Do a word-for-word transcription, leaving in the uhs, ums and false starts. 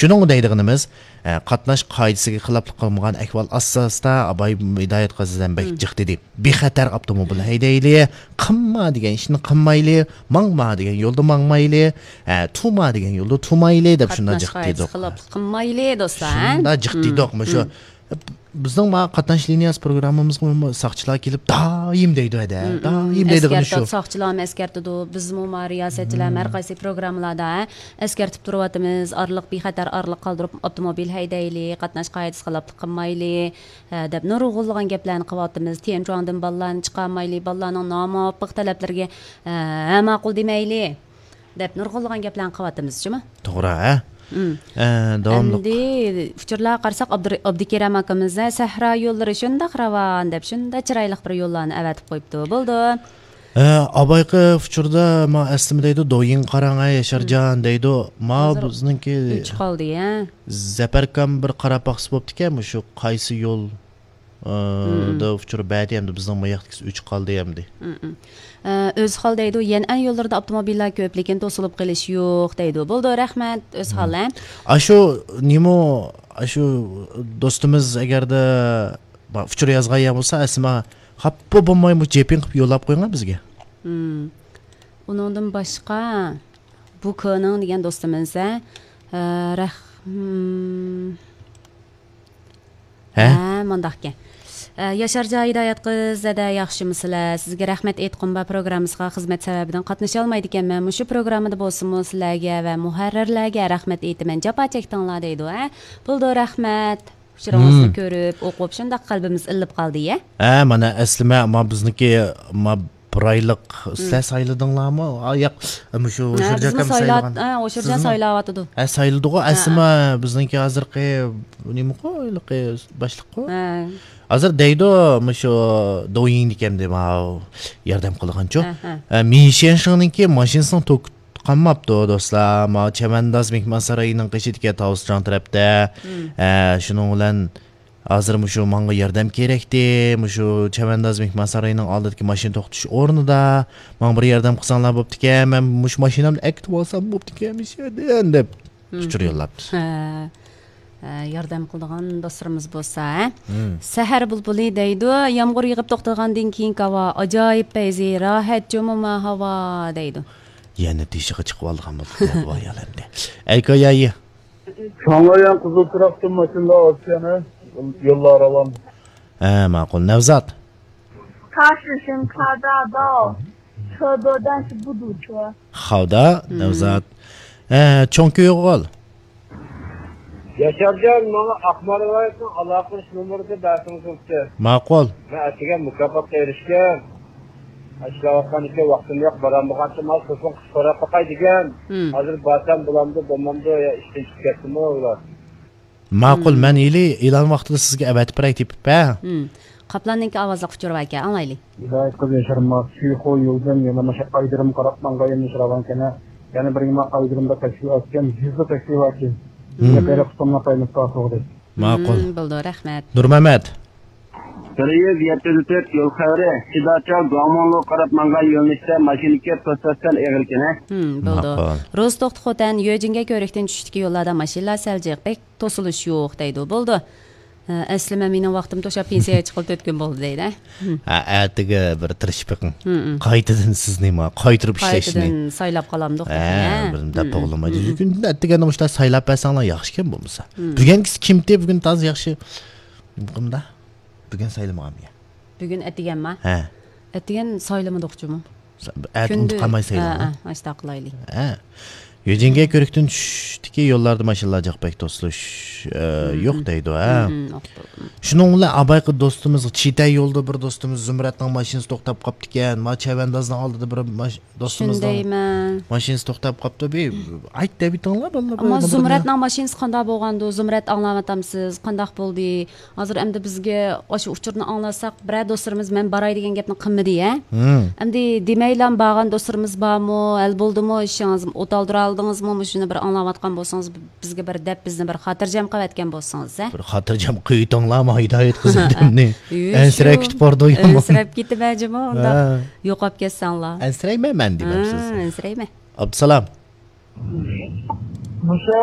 شۇنىڭغا دەيدىغىنىمىز، ئە، قاتناش قائىدىسىگە خىلاپلىق قىلمىغان ئەھۋال ئاساسىدا ئاباي ھىدايەت قازى دەم بەك جىق دېدى. بىخەتەر ئاپتوموبىل ھەيدەيلى، قىلما دېگەن ئىشنى قىلمايلى، ماڭما دېگەن يولدا ماڭمايلى، ئە، تۇما دېگەن يولدا تۇمايلى دەپ شۇنداق قاتناش جىق قائىدىسىگە دېدۇق. خىلاپلىق قىلمايلى، دوستلار، ھە؟ شۇنداق جىق دېدۇق. مۇشۇ بىزنىڭ ما قاتناش لىنىيەسى پروگراممىمىزغىمۇ ساقچىلار كېلىپ دائىم دەيدۇ ھەدە. دائىم دەيدىغىنى شۇ. ئەسكەرتىدۇ، ساقچىلارمۇ ئەسكەرتىدۇ. بىزمۇ ما رىياسەتچىلەر ھەر قايسى پروگراممىلاردا، ھە، ئەسكەرتىپ تۇرۇۋاتىمىز. ئارىلىق، بىخەتەر ئارىلىق قالدۇرۇپ ئاپتوموبىل ھەيدەيلى، قاتناش قائىدىسى خىلاپلىق قىلمايلى، ھە، دەپ نۇرغۇنلىغان گەپلەرنى قىلىۋاتىمىز. تيەنچۇاڭدىن بالىلارنى چىقارمايلى، بالىلارنىڭ نامۇۋاپىق تەلەپلىرىگە، ھە، ماقۇل دېمەيلى دەپ نۇرغۇنلىغان گەپلەرنى قىلىۋاتىمىز، شۇمۇ؟ توغرا، ھە؟ ئە، داۋاملىق. ئەمدى ئۇچۇرلارغا قارىساق، ئابدۇر-، ئابدۇكېرەم ئاكىمىز، ھە، سەھرا يوللىرى شۇنداق راۋان دەپ، شۇنداق چىرايلىق بىر يوللارنى ئەۋەتىپ قويۇپتۇ. بولدى. ئە، ئابايقى ئۇچۇردا ما ئەسلىمە دەيدۇ، دويىڭغا قاراڭ، ھە، ياشارجان دەيدۇ. ما بىزنىڭكى ئۈچ قالدى، ھە؟ زەپەركام بىر قاراپ باقسا بوپتىكەن، مۇشۇ قايسى يول ئە، دا ئۇچۇر بەردى ئەمدى بىزنىڭ ماياقتىكىسى ئۈچ قالدى ئەمدى. ئە، ئۆزھال دەيدۇ، يەنئەن يوللىرىدا ئاپتوموبىللار كۆپ، لېكىن توسۇلۇپ قېلىش يوق دەيدۇ. بولدى، رەھمەت، ئۆزھال، ھە؟ ئاشۇ نېمە، ئاشۇ دوستىمىز ئەگەردە ئۇچۇر يازغان يا بولسا، ئەسلىمە خاپا بولماي مۇشۇ جېپىڭ قىلىپ يوللاپ قويۇڭا بىزگە. ئۇنىڭدىن باشقا، بۇ كۆنىڭ دېگەن دوستىمىز، ھە؟ ئە، رەھ-، ھە؟ ھە، مۇنداقكەن. ئە، ياشارجان ھىدايەت قىز، زەدە ياخشىمۇسىلەر؟ سىزگە رەھمەت ئېيتقۇم بار، پروگراممىسىغا خىزمەت سەۋەبىدىن قاتنىشالمايدىكەنمەن. مۇشۇ پروگراممىدا بولسىمۇ سىلەرگە ۋە مۇھەررىرلەرگە رەھمەت ئېيتىمەن. جاپا چەكتىڭلار دەيدۇ، ھە؟ بولدى، رەھمەت. ئۇچۇرىڭىزنى كۆرۈپ، ئوقۇپ، شۇنداق قەلبىمىز ئىللىپ قالدى، يە؟ ھە، مانا ئەسلىمە، ما بىزنىڭكى، ما بىر ئايلىق سىلەر سايلىدىڭلارمۇ؟ ئا، ياق، مۇشۇ ھە، ھوشۇرجان ئاكام سايلىغان. ھە، ھوشۇرجان سايلاۋاتىدۇ. ھە، سايلىدىغۇ، ئەسلىمە بىزنىڭكى ھازىرقى نېمىقۇ، ھېلىقى باشلىققۇ. ھە. ھازىر دەيدۇ، مۇشۇ دويىڭدىكەن دەيمەن، ياردەم قىلغانچۇ. ھە، ھە. ھە، مىشيەنشىڭنىڭكى ماشىنىسىنىڭ توكى قانماپتۇ، دوستلار. ما چەۋەنداز مېھمانسارىيىنىڭ قېشىدىكى تاۋۇسجاڭ تەرەپتە. ھە، شۇنىڭ بىلەن ھازىر مۇشۇ ماڭا ياردەم كېرەكتى، مۇشۇ چەۋەنداز مېھمانسارىيىنىڭ ئالدىدىكى ماشىنا توختىتىش ئورنىدا ماڭا بىر ياردەم قىلساڭلار بوپتىكەن، مەن مۇشۇ ماشىنامنى ئەكېتىۋالسام بوپتىكەن مۇشۇ يەردىن دەپ ئۇچۇر يوللاپتۇ. ھە. ھە، ياردەم قىلىدىغان دوستلىرىمىز بولسا، ھە؟ سەھەر بۇلبۇلى دەيدۇ، يامغۇر يېغىپ توختىغاندىن كېيىنكى ھاۋا ئاجايىپ پەيزى، راھەت جۇمۇما ھاۋا دەيدۇ. يەنە تېشىغا چىقىۋالغان بولدۇق، ۋاي ئالەمدە. ئەيكا يايى. شاڭلايان قىزىل تۇراقتىن ماشىنىلار ئازكەن، ھە؟ يوللار راۋان. ھە، ماقۇل. نەۋزات. 他是神卡大道，车多，但是不堵车。 خاۋدا، نەۋزات. ھە، چوڭ كۆيۈغۇل. ياشارجان، ماڭا ئاقمار ۋىلايىتىنىڭ ئالاقىلىنىش نومۇرىنى بەرسىڭىز بوپتۇ. ماقۇل. مەن ئەتىگەن مۇكاپاتقا ئېرىشكەن. ئىشلەۋاتقان ئىكەن، ۋاقتىم يوق، بارالمىغاچقا ماڭا تېلېفون قىلىپ سوراپ باقاي دېگەن. ھازىر بارسام بولامدۇ، بولمامدۇ، يا ئىشتىن چىقىپ كەتتىمۇ ئۇلار. ماقۇل، مەن ھېلى ئېلان ۋاقتىدا سىزگە ئەۋەتىپ بېرەي تېپىپ، ھە؟ قاپلاننىڭكى ئاۋازلىق ئۇچۇرى باركەن، ئاڭلايلى. ھىدايەت قىز ياشارما، سۈيخۇ يولدىن يەنە ماشا ئايدىرىم قاراپ ماڭغان يەنە ياشىراۋانكەن، ھە؟ يەنە بىر نېمە ئايدىرىمدا تەكلىپ ئەتكەن، يۈزلا تەكلىپ ئەتكەن. يەنە بىرى قۇتۇملۇق قايمىققا سوغدى. ماقۇل. بولدى، رەھمەت. نۇرمەمەت. بىر يۈز يەتتە يۈز تۆت يول خەۋىرى، سىداچال گۇاڭمۇڭلۇغا قاراپ ماڭغان يۆنىلىشتە ماشىنا كەپ توسۇش سەل ئېغىركەن، ھە؟ بولدى. ماقۇل. روزتوق خوتەن يۆجىنگە كۆۋرۈكتىن چۈشتىكى يوللاردا ماشىنىلار سەل جىق، بەك توسۇلۇش يوق دەيدۇ. بولدى. ھە، ئەسلىمە مېنىڭ ۋاقتىم توشاپ پېنسىيەگە چىققىلى تۆت كۈن بولدى دەيدۇ. ھە، ئەتىگە بىر تىرىشىپ بېقىڭ. قايتىدىن سىزنى ما قايتۇرۇپ ئىشلەشنى. قايتىدىن سايلاپ قالامدۇق تېخى، ھە، ھە؟ بىر دەپ بولمايدۇ. كۈندە ئەتىگەندە مۇشۇلار سايلاپ بەرسەڭلار ياخشىكەن بولمىسا. بۈگۈنكىسى كىمتى؟ بۈگۈن تازا ياخشى. بۇنداق. بۈگۈن سايلىمىغانمۇ يا؟ بۈگۈن ئەتىگەنما؟ ھە. ئەتىگەن سايلىمىدۇقچۇمۇ؟ ئەتە ئۇنتۇپ قالماي سايلىما. ھە، ئاشۇنداق قىلايلى. ھە. يۆجىنگە كۆۋرۈكتىن چۈشتىكى يوللاردا ماشىنىلار جىق، بەك توسۇلۇش، ئە، يوق دەيدۇ، ھە. شۇنىڭ بىلەن ئابايقى دوستىمىز، چىتە يولدا بىر دوستىمىز زۇمرەتنىڭ ماشىنىسى توختاپ قاپتىكەن. ما چەۋەندازنىڭ ئالدىدا بىر ماش-، دوستىمىزنىڭ ماشىنىسى توختاپ قاپتۇ. بىر ئايت دەۋېتىڭلار، بالىلار. ئەمما زۇمرەتنىڭ ماشىنىسى قانداق بولغاندۇ؟ زۇمرەت، ئاڭلاۋاتامسىز؟ قانداق بولدى؟ ھازىر ئەمدى بىزگە ئاشۇ ئۇچۇرنى ئاڭلاتساق، بىرەر دوستلىرىمىز مەن باراي دېگەن گەپنى قىلمىدى، ھە؟ ئەمدى دېمەيلا بارغان دوستلىرىمىز بارمۇ؟ ھەل بولدىمۇ ئىشىڭىز؟ ئوت ئالدۇرالدىڭىزمۇ؟ مۇشۇنى بىر ئاڭلاۋاتقان بولسىڭىز، بىزگە بىر دەپ، بىزنى بىر خاتىرجەم قىلىۋەتكەن بولسىڭىز، ھە؟ بىر خاتىرجەم قىلىۋېتىڭلارما، ھىدايەت قىز ئادەمنى. ئەنسىرەپ كېتىپ بارىدۇ يامان. ئەنسىرەپ كېتىمەن جۇمۇ، ئۇنداق يوقاپ كەتسەڭلار. ئەنسىرەيمەن مەن دېمەمسىز؟ ئەنسىرەيمەن. ئابدۇسالام. مۇشۇ